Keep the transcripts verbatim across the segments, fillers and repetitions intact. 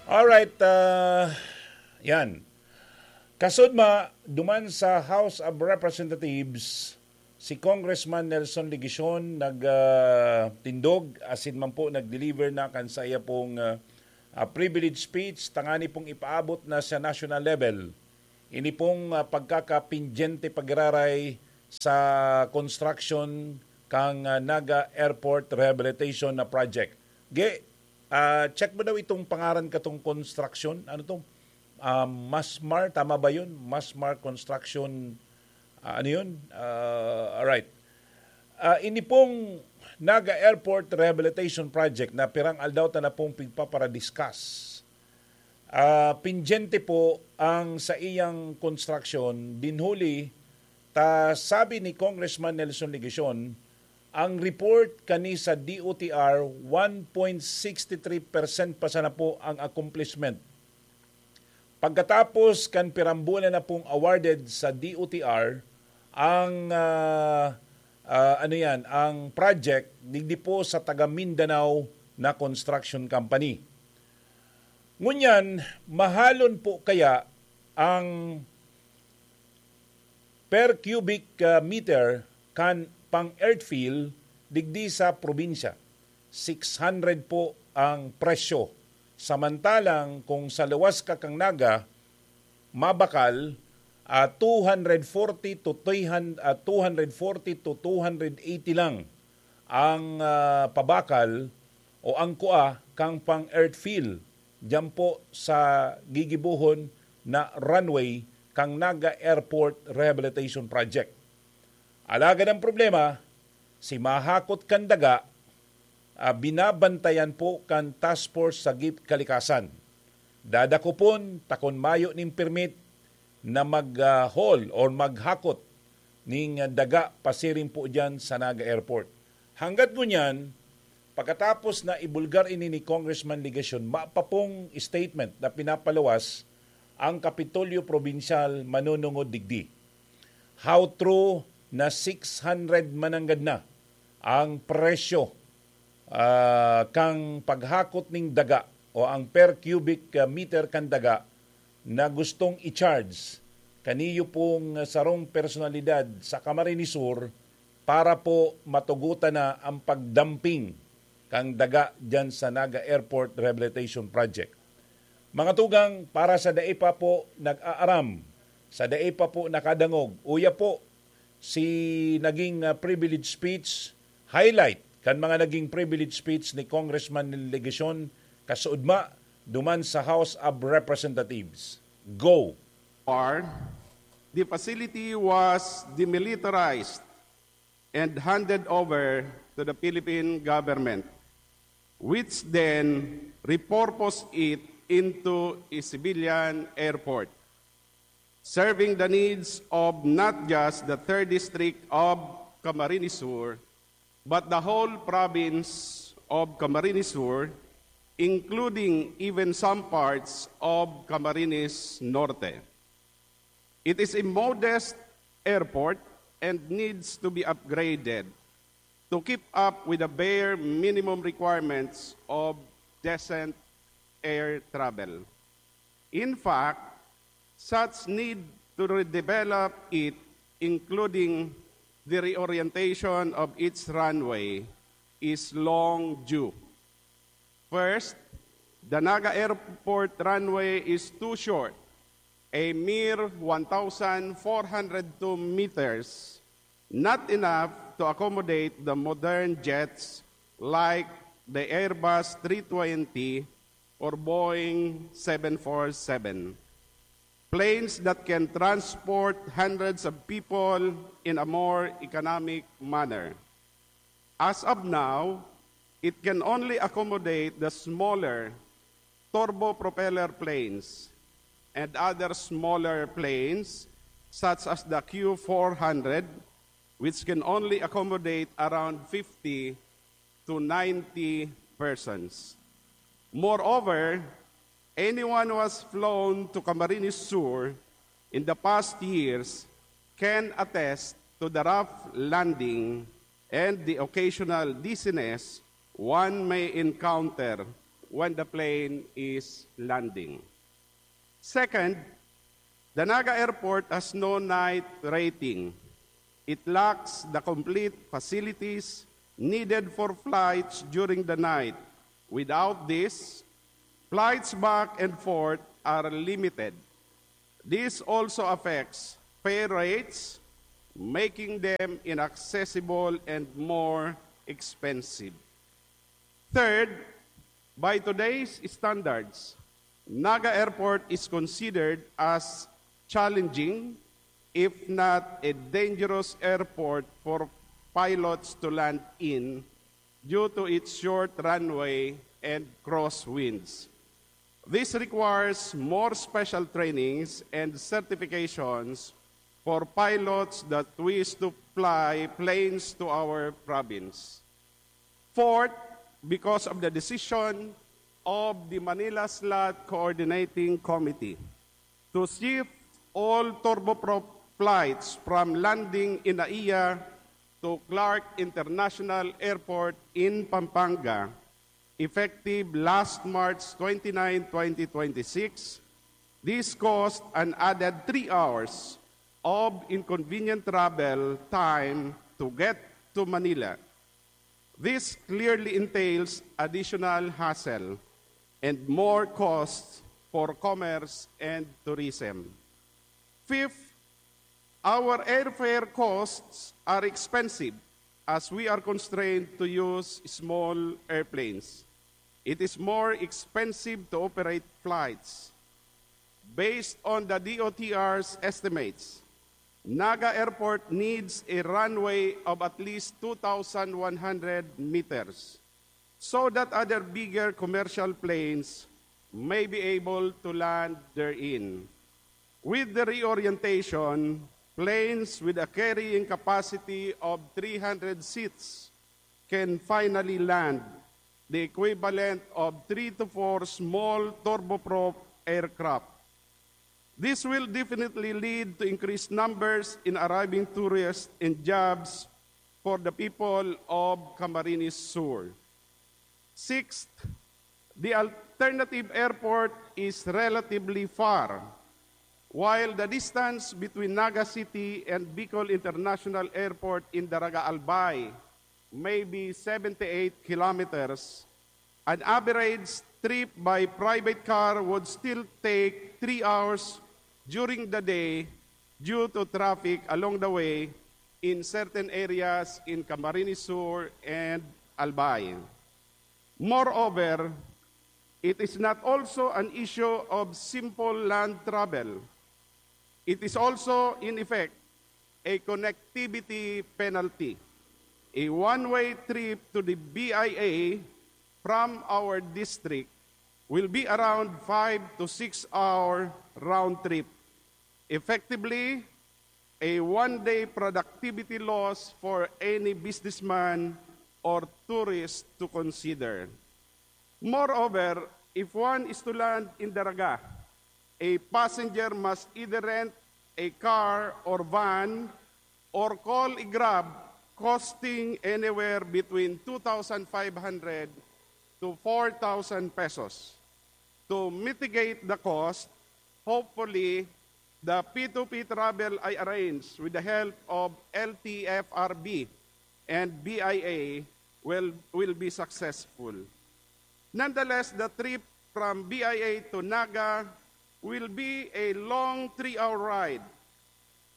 Alright, ah, yan. Kasudma, duman sa House of Representatives, si Congressman Nelson Legacion nag, ah, tindog, asin man po nag-deliver na kan saiya pong, ah, ah, privilege speech, tangani pong ipaabot na sa national level. Ini pong, ah, pagkakapindyente pagiraray sa construction kang, ah, Naga Airport Rehabilitation na project. Ge, ah, check mo daw itong pangaran katong construction. Ano to? Ah, Masmar, tama ba yun? Masmar Construction, ah, ano yun? Ah, alright. Ah, ini pong Naga Airport Rehabilitation Project na pirang aldaw ta na pong pigpapara-discuss. Ah, pindyente po ang saiyang construction, dinhuli ta sabi ni Congressman Nelson Legacion, ang report kani sa D O T R, one point six three percent pa sana po ang accomplishment. Pagkatapos kan pirang bulan na pong awarded sa D O T R ang, ah, ah, ano yan, ang project digdi po sa taga Mindanao na construction company. Ngunyan, mahalon po kaya ang per cubic, ah, meter kan pang-earthfill digdi sa probinsya? Six hundred po ang presyo. Samantalang kung sa luwas ka kang Naga, mabakal, ah, two hundred forty to three hundred, ah, two hundred forty to two hundred eighty lang ang, ah, pabakal o ang kua kang pang-earthfill diyan po sa gigibohon na runway kang Naga Airport Rehabilitation Project. Alagad ang problema, si mahakot kan daga, ah, binabantayan po kan Task Force sa G I P Kalikasan. Dadakopon ta kun mayo nin permit na mag, ah, haul or maghakot ning, ah, daga pasiring po diyan sa Naga Airport. Hanggat ngunyan, pagkatapos na ibulgar ini ni Congressman Legacion, mapapong statement na pinapaluwas ang Kapitolyo Probinsyal manunungod digdi. How true na six hundred mananggad na ang presyo, ah, kang paghakot ning daga o ang per cubic, ah, meter kan daga na gustong i-charge kaniyo pong sarong personalidad sa Camarines Sur para po matugutan na ang pagdamping kan daga diyan sa Naga Airport Rehabilitation Project. Mga tugang, para sa dai pa po nag-aaram, sa dai pa po nakadangog, uya po si naging, ah, privilege speech, highlight kan mga naging privilege speech ni Congressman Legacion kasuodma duman sa House of Representatives. Go! War, the facility was demilitarized and handed over to the Philippine government, which then repurposed it into a civilian airport, serving the needs of not just the third district of Camarines Sur, but the whole province of Camarines Sur, including even some parts of Camarines Norte. It is a modest airport and needs to be upgraded to keep up with the bare minimum requirements of decent air travel. In fact, such need to redevelop it, including the reorientation of its runway, is long due. First, the Naga Airport runway is too short, a mere one thousand four hundred two meters, not enough to accommodate the modern jets like the Airbus three twenty or Boeing seven four seven, planes that can transport hundreds of people in a more economic manner. As of now, it can only accommodate the smaller turbo propeller planes and other smaller planes such as the Q four hundred, which can only accommodate around fifty to ninety persons. Moreover, anyone who has flown to Camarines Sur in the past years can attest to the rough landing and the occasional dizziness one may encounter when the plane is landing. Second, the Naga Airport has no night rating. It lacks the complete facilities needed for flights during the night. Without this, flights back and forth are limited. This also affects fare rates, making them inaccessible and more expensive. Third, by today's standards, Naga Airport is considered as challenging, if not a dangerous airport for pilots to land in due to its short runway and crosswinds. This requires more special trainings and certifications for pilots that wish to fly planes to our province. Fourth, because of the decision of the Manila Slot Coordinating Committee to shift all turboprop flights from landing in NAIA to Clark International Airport in Pampanga, effective last March twenty-nine, twenty twenty-six, this caused an added three hours of inconvenient travel time to get to Manila. This clearly entails additional hassle and more costs for commerce and tourism. Fifth, our airfare costs are expensive as we are constrained to use small airplanes. It is more expensive to operate flights. Based on the D O T R's estimates, Naga Airport needs a runway of at least two thousand one hundred meters so that other bigger commercial planes may be able to land therein. With the reorientation, planes with a carrying capacity of three hundred seats can finally land, the equivalent of three to four small turboprop aircraft. This will definitely lead to increased numbers in arriving tourists and jobs for the people of Camarines Sur. Sixth, the alternative airport is relatively far. While the distance between Naga City and Bicol International Airport in Daraga Albay may be seventy-eight kilometers, an average trip by private car would still take three hours during the day due to traffic along the way in certain areas in Camarines Sur and Albay. Moreover, it is not also an issue of simple land travel. It is also, in effect, a connectivity penalty. A one-way trip to the B I A from our district will be around five to six hour round trip. Effectively, a one-day productivity loss for any businessman or tourist to consider. Moreover, if one is to land in Daraga, a passenger must either rent a car or van or call a Grab costing anywhere between two thousand five hundred to four thousand pesos. To mitigate the cost, hopefully, the P two P travel I arrange with the help of L T F R B and B I A will, will be successful. Nonetheless, the trip from B I A to Naga will be a long three-hour ride.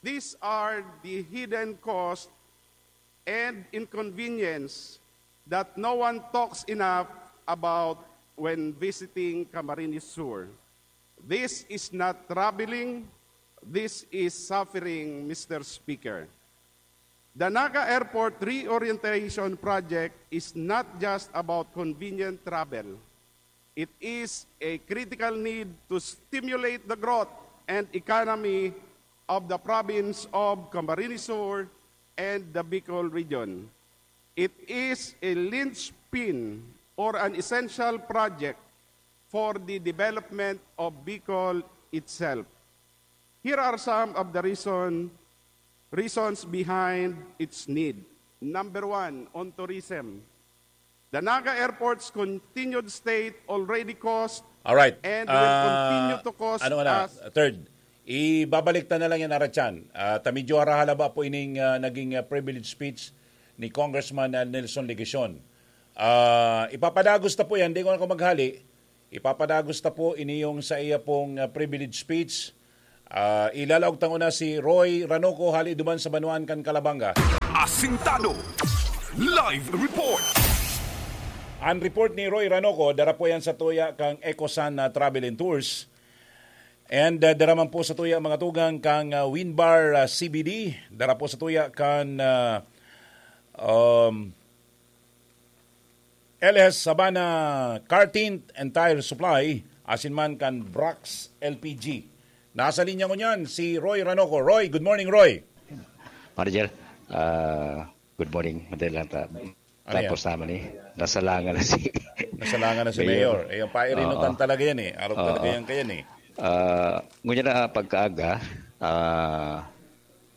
These are the hidden costs and inconvenience that no one talks enough about when visiting Camarines Sur. This is not traveling, this is suffering, Mister Speaker. The Naga Airport Reorientation Project is not just about convenient travel. It is a critical need to stimulate the growth and economy of the province of Camarines Sur and the Bicol region. It is a linchpin or an essential project for the development of Bicol itself. Here are some of the reason, reasons behind its need. Number one, on tourism. The Naga Airport's continued state already caused Alright. and will continue to cause Ano na, us third. Ibabalik ta na lang yan, Aratyan. Ah, ta medyo harahalaba po ining ah, naging ah, privilege speech ni Congressman ah, Nelson Legacion. Ah, ipapadagos ta po yan, di ko na ako maghali. Ipapadagos ta po ini yung sa iya pong ah, privilege speech. Ah, ilalaog tang una si Roy Ranoco, hali duman sa Banuan kan Calabanga. Asintado. Live report. Ang report ni Roy Ranoco, dara po yan sa tuya kang Ecosan na Travel and Tours. And uh, dara man po sa tuya mga tugang kang uh, Winbar uh, C B D, dara po sa tuya kan uh, um, L S Sabana Car Tint and Tire Supply, asin man kan Brax L P G. Nasa linya ngunyan si Roy Ranoco. Roy, good morning, Roy. Manager, ah, good morning. Madali lang ta. Ano Tapos naman eh. Nasalangan na si... Nasalangan na si Mayor. Mayor. Eh, ang pairinutan Oo. talaga yan eh. Arog talaga Oo. yan kaya eh. Ah, ngunyan na pagkaaga, ah,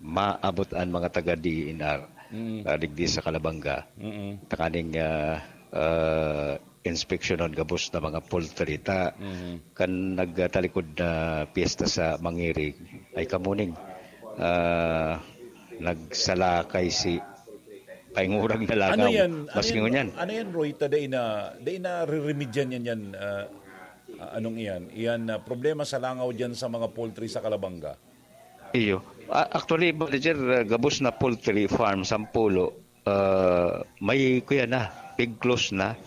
maabot ang mga taga D E N R Mm. ah, digdi sa Calabanga. Mm-mm. Takaning ah, ah, inspeksyonon gabos na mga poultry ta Mhm. kan nagtalikod na piyesta sa Mangirig ay kamuning ah, nagsalakay si paingurag na langaw. Ano yan? Ano Maski yan, ngunyan. Ano yan, Roy? Ta, dai na, dai na riremedyan yan yan. Ah, ah, anong iyan? Iyan na problema sa langaw dyan sa mga poultry sa Calabanga. Iyo. Ah, actually, Manager, ah, gabos na poultry farm, sampulo, ah, may kuya na, pig close na.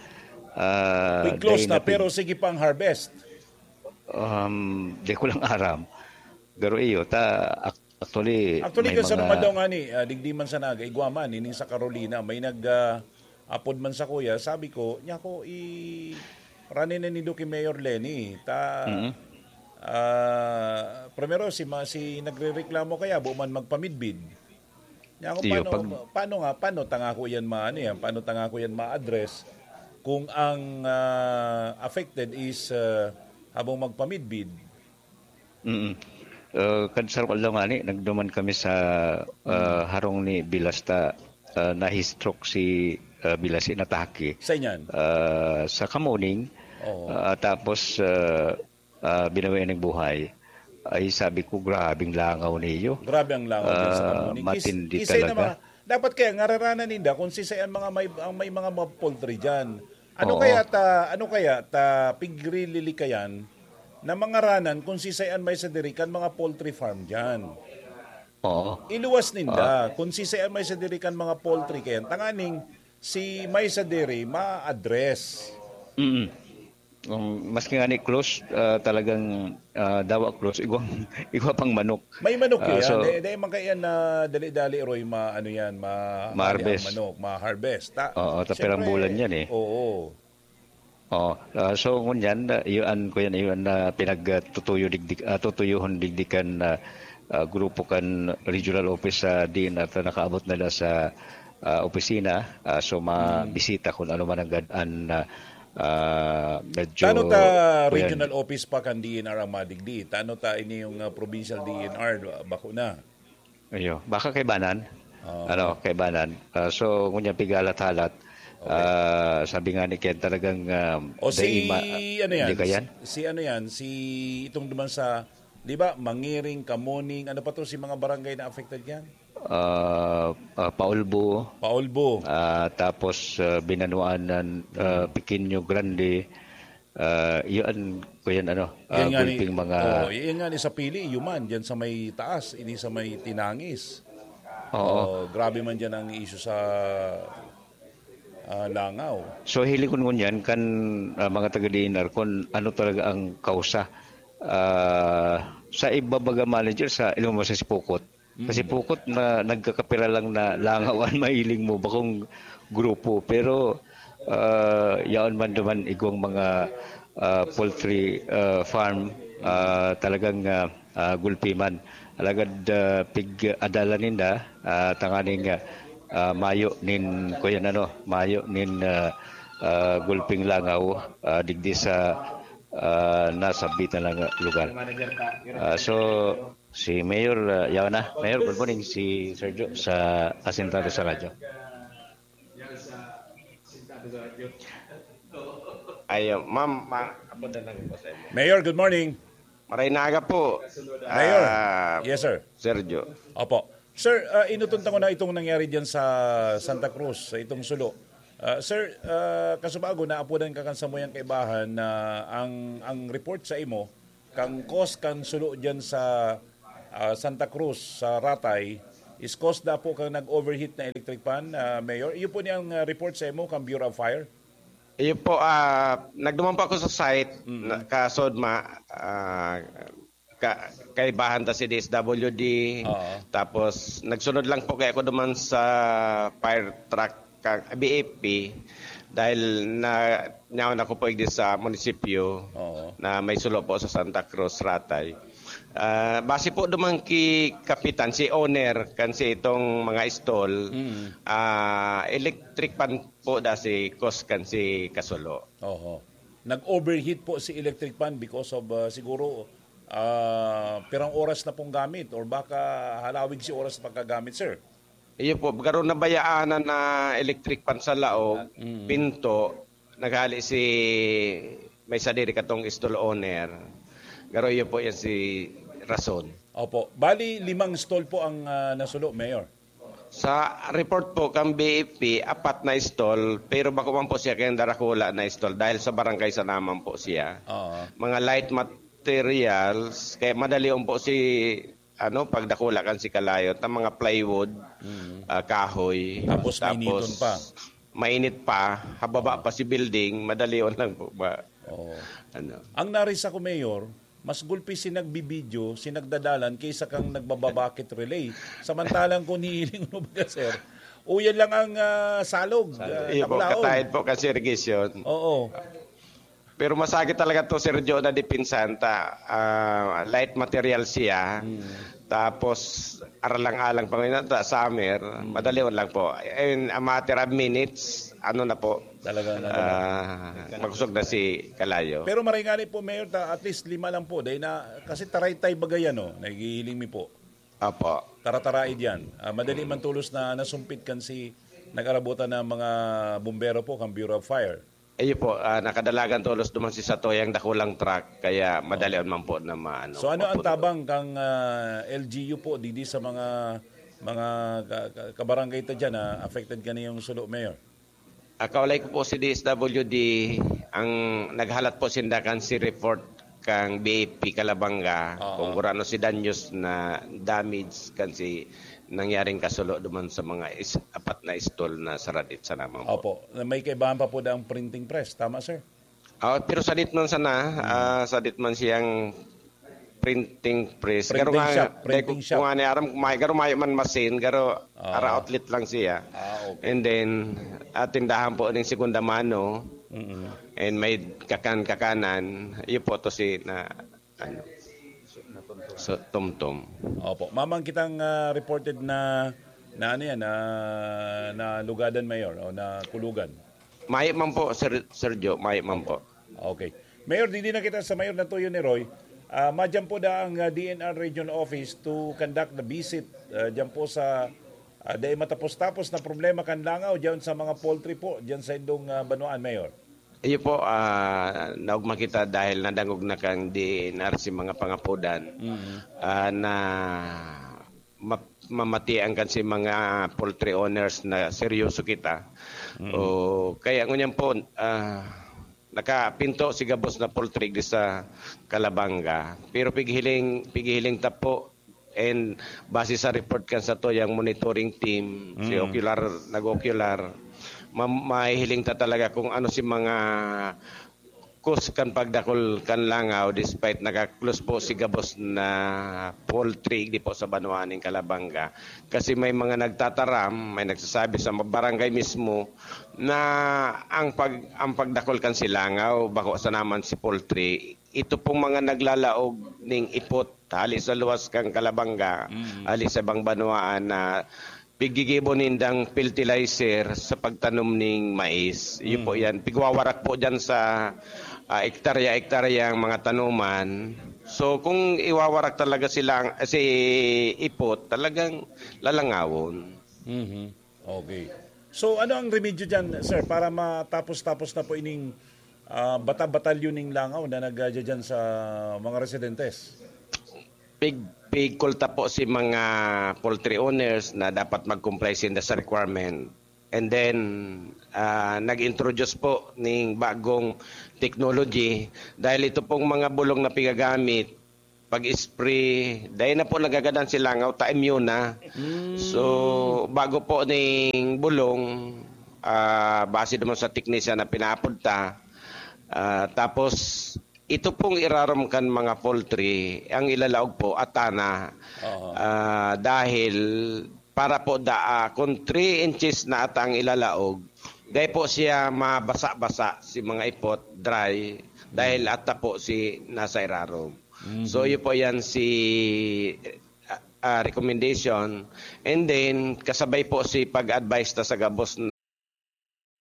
Ah, Pig close dahil na, pig- pero sige pa ang harvest. Um, di ko lang aram. Pero iyo, ta, ac- actually, Actually, may kan sa mga- mga daw nga ni, ah, digdi man sa Naga, igwa man, ini sa Carolina, may nag, ah, apod man sa kuya, sabi ko, niya ko, i ranin na nindo kay Mayor Leni. Ta, Mhm. ah, primero, si, ma, si nagre-reklamo kaya, buo man magpamidbid. Niya ako, Iyo, paano, pag- paano nga, paano tanga ko yan ma, ano yan, paano tanga ko yan ma-address kung ang ah, affected is ah, habang magpamidbid? Mm. Uh, kan sarong aldaw nga ni, nagduman kami sa uh, harong ni Bilasta. Uh, na-stroke si uh, Bilasi, natake. Sa inyan? Uh, sa Kamuning. Oo. Uh, tapos, uh, uh, binawi ng buhay. Ay, sabi ko, grabing langaw niyo. Grabe ang langaw din sa Ah, Kamuning. Kis- matindi kisay na talaga. mga, dapat kaya ngararanan ninda kung sisay ang mga may, ang may mga, mga poultry dyan. Ano Oo. kaya ta, ano kaya ta pigrililikayan na mangaranan kung sisay ang may sadiri kan mga poultry farm dyan? Oo. Iluwas ninda kung sisay ang may sadiri kan mga poultry kaya tanganing si may sadiri ma-address. Mm. Um, maski nga ni close, ah, talagang ah, dawa close, igwang, igwa pang manok. May manok Ah, yan. so- Dahil, dahil man kaya na dali-dali, Roy, ma, ano yan, ma, Ma-harvest. Manok, ma-harvest. Ta, Oo, ta pirang siyempre, bulan yan eh. Oo. Oh, ah, so ngunyan, ah, yun ko yan, yun na pinagtutuyo digdig, ah, tutuyuhon digdikan na ah, grupo kan regional office sa D N R ta nakaabot na la sa ah, opisina. Ah, so mabisita kung ano man ang gad-an na ah, medyo Tano ta kuyan. regional office pa kan D N R ang madigdi? Tano ta ini yung ah, provincial D N R, bako na? Ayo, baka kaibanan. Oo. Ano, kaibanan. Ah, so, ngunyan pigalat-halat. Ah, sabi nga ni Ken, talagang ah, O si, dai ma- ano yan? Hindi ka yan? Si ano yan? Si itong duman sa, di ba, Mangiring, Kamuning, ano pa to si mga barangay na affected yan? Ah, ah, Paulbo, Paulbo. ah, tapos ah, Binanuanan, ah, Pequeño Grande, ah, yun, kuyan ano, ah, Yan nga ni, gulping mga... oh, yan nga ni sa Pili, Yuman, dyan sa may taas, ini sa may Tinangis. Oo. Oh, grabe man dyan ang issue sa ah, langaw. So, hiling ko ngunyan kan ah, mga taga D N R kung ano talaga ang kausa. Ah, sa iba baga, Manager, sa ilong mo sa Sipukot. Kasi Pukot na nagkakapira lang na langaw ang mahiling mo, bakong grupo. Pero ah, yaon man duman igwang mga ah, poultry ah, farm, ah, talagang ah, ah, gulpi man. Alagad ah, pig-adalan ninda, ah, tanganing ah, ah, mayo nin, kuyan ano, mayo nin ah, ah, gulping langaw ah, digdi sa ah, nasabit na lang lugar. Ah, so, si Mayor, ah, yaw na. Mayor, good morning. Si Sergio sa Asintado sa Radyo. Ayo, ma'am, ma-, apo na lang po sa inyo. Mayor, good morning. Maray na aga po. Mayor. Ah, Yes, sir. Sergio. Opo. Sir, ah, inutunta ko na itong nangyari diyan sa Santa Cruz, sa itong sulo. Ah, sir, ah, kasubago, naapodan ka kan samuyang kaibahan na ang, ang report sa imo, kang cause kan sulo diyan sa ah, Santa Cruz, sa Ratay, is cause da po kang nag-overheat na electric pan, ah, Mayor. Iyo po niyang ah, report sa imo kang Bureau of Fire? Iyo po, ah, nagduman po ako sa site, Mm. na, kasod ma, ah, ka, kaibahan ta si D S W D, Oo. tapos nagsunod lang po kaya ako duman sa fire truck kang B F P dahil na nyaon ako po igdi sa munisipyo Oo. na may sulo po sa Santa Cruz, Ratay. Ah, base po duman ki Kapitan, si owner kan si itong mga stall, Mm. ah, electric pan po da si cause kan si kasulo. Oho. Nag-overheat po si electric pan because of ah, siguro ah, pirang oras na pong gamit or baka halawig si oras sa pagkagamit, sir. Iyo po, garo nabayaan na electric pan sa laog, Mm. pinto, naghali si may sadiri katong stall owner. Garo iyo po yan si rason. Opo. Bali, limang stall po ang ah, nasulo, Mayor. Sa report po kang B F P, apat na stall, pero bako man po siya kaya darakula na stall dahil sa barangay sa naman po siya. Oo. Mga light materials, kaya madali po si ano, pagdakula kan si kalayo, ta mga plywood, Mm. ah, kahoy. Tapos mainiton pa. Mainit pa, hababa pa si building, madali lang po ba? Oo. Ano? Ang narisa ko, Mayor, mas gulpi si nagbibidyo, si nagdadalan, kaysa kang nagbababakit relay. Samantalang kung hihiling mo ba, sir, uyan lang ang ah, salog, ah, Iyo po, takulaon. kataid po kasi irrigation. Oo. Pero masakit talaga to, Sir Joe, na depensahan ta. Ah, light material siya. Hmm. Tapos, aralang-alang pa ngayon, ta, summer, madali lang po. In a matter of minutes, ano na po, Talagang ano na. ah, makusog na si kalayo. Pero maray nga ni po, Mayor, ta, at least lima lang po. Dahil na, kasi taraytay bagay ano, naghihiling mi po. Opo. Tarataraid yan. Ah, madali man tulos na nasumpit kan si nag-arabutan ng mga bumbero po, kang Bureau of Fire. Iyo po, ah, nakadalagan tolos duman si Satoyang dakulang truck, kaya madali man po na maano. So ano ang mapunto. Tabang kang ah, L G U po didi sa mga mga ka- ka- kabarangay ta diyan na affected kaniyong sulo, Mayor? Ah, kaulay ko po si D S W D, ang naghalat po sinda kan si report kang B F P Kalabanga Oo. kung kurano si danyos na damage kan si nangyaring kasulo duman sa mga is, apat na stall na saradit sa naman po. Opo. May kaibahan pa po ang printing press. Tama, sir? Ah, pero sadit man sana, ah, sadit man siyang printing press. Printing Garo nga, shop, dahil printing kung, shop. kung ano aram, may garo mayo man masin, garo Ah. ara outlet lang siya. Ah, okay. And then, at tindahan po ng segunda mano, Mm-mm. and may kakan-kakanan, iyo po to si na, ano, so, tumtum. Opo. Mamang kitang ah, reported na na ano yan, na, na lugadan, Mayor, o na kulugan. Mayo man po, Sir, Sir Joe, mayo man po. Okay. Mayor, didi na kita sa Mayor Natuyo ni Roy. Ah, madyan po da ang ah, D N R Regional Office to conduct the visit ah, dyan po sa ah, dahil matapos-tapos na problema kan langaw dyan sa mga poultry po dyan sa indong ah, banwaan, Mayor. Iyo po, ah, naugma kita dahil nadangog na kang D N R si mga pangapodan ah, na ma- mamatian kan si mga poultry owners na seryoso kita. O, kaya ngunyan po, ah, nakapinto si gabos na poultry di sa Kalabanga. Pero pighiling, pighiling ta po and base sa report kan sa to yung monitoring team, si Mm. Ocular, nag-Ocular, ma- mahihiling ta talaga kung ano si mga cause kan pagdakol kan langaw despite naka-close po si gabos na poultry di po sa banwaan ng Kalabanga. Kasi may mga nagtataram, may nagsasabi sa barangay mismo na ang pag ang pagdakol kan si langaw, bako sa naman si poultry, ito pong mga naglalaog ning ipot hali sa luwas kang Kalabanga, Mm. hali sa ibang banwaan na pigigibo nindang fertilizer sa pagtanom ning mais. Iyo po Mm. yan. Pigwawarak po dyan sa ah, ektarya-ektarya ang mga tanuman. So kung iwawarak talaga sila, si ipot, talagang lalangawon. Mhm. Okay. So ano ang remedyo dyan, sir, para matapos-tapos na po ining ah, bata-batalyon ning langaw na nagdadyan sa mga residentes? Pig, pigkulta po si mga poultry owners na dapat mag-comply sinda sa requirement. And then, ah, nag-introduce po ning bagong technology dahil ito pong mga bulong na pigagamit, pag-spray, dahil na po nagagadan si langaw, ta immune na. So, bago po ning bulong, ah, base naman sa teknisya na pinapod ta, ah, tapos ito pong irarom kan mga poultry, ang ilalaog po, atana. Oo. Ah, dahil para po da, ah, kung three inches na ata ang ilalaog, dahil po siya mabasa-basa si mga ipot, dry, dahil ata po si nasa irarom. So, yun po yan si ah, ah, recommendation. And then, kasabay po si pag-advise ta sa gabos,